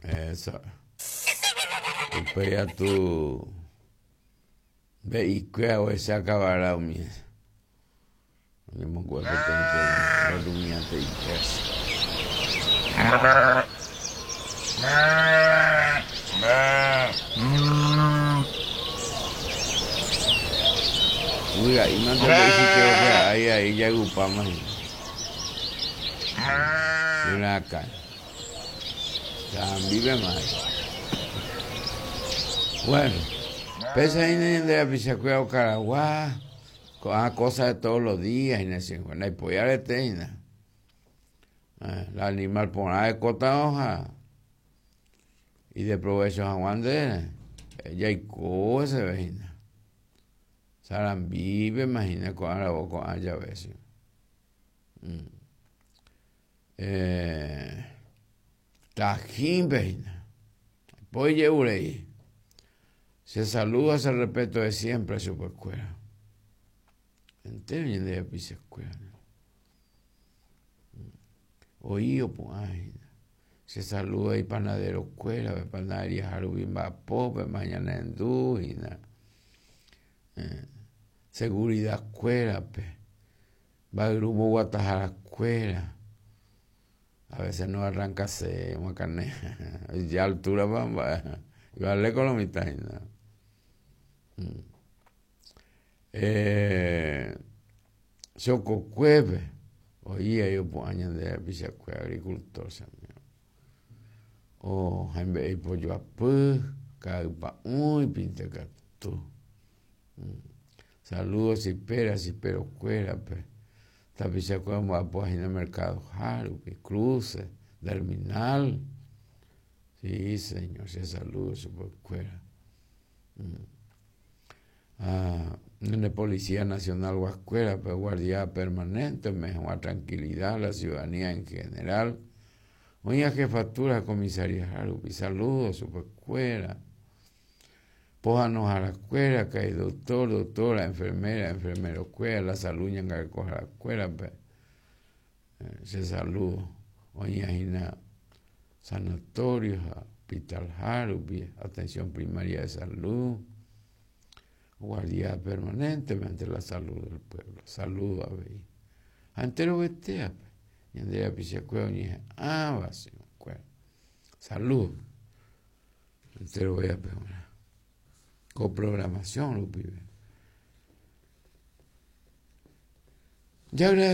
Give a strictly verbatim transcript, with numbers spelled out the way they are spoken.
Eso. Upéi tu ve'ikuéra ohecha kavara umi oñemongu'e peteĩ rumiante ipeso. Guyra'i mante he'i chupe ahí ahí jagupáma hína. Guyrakã. Sambípema. Bueno, pesa hína ñande rapichakuéra okaragua, ko'ã cosa de todos los días hína che ndaipói arete hína. La animal porã ekóta ha ideprovecho hag̃ua nde jaiko heseve hína. Sarambípema hína ko'ã ravo ko'ã jave che. Eh, Tajínpe hína. Poi je'urei. Se saluda, se respeto de siempre chupekuéra. Entero ñande rapichakuéra. Oĩ opu'ã hína. Se saluda ipanaderokuéra, panadería rupi mba'apópe ñanendu hína. Eh, seguridad-kuérape, mba'yru mboguataharakuéra. A veces no arrancase macane. Ya altura pa mba'e. Vale con lo mitad hína. Eh, Chokokuépe oĩ aí opu'ã ñande rapichakuéra agricultor che amigo. O hembe'e ipojoapy, ka'ypa'ũ ipinte katu. Saludos chipera, chiperokuérape. Tapichakuéra omba'apo hína mercado rupi, cruce, terminal. Sí, señor, che saludo chupekuéra. Ah, ñande Policía Nacional guaskuérape, guardia permanente, mejor tranquilidad la ciudadanía en general. Oĩ jefatura comisaría rupi, saludos chupekuéra. Pohãnoharakuéra, karai doctor, doctora, enfermera, enfermerokuéra, la salud ñangarekoharakuérape. Che saludo. Oĩ hína sanatorio, hospital rupi, atención primaria de salud. Guardia permanentemente la salud del pueblo. Saludo avei. Ha enterovetéape. Ñande rapichakuéra oñeha'ãva chupekuéra. Salud. Enterovéape g̃uarã. Coprogramación rupive. Ya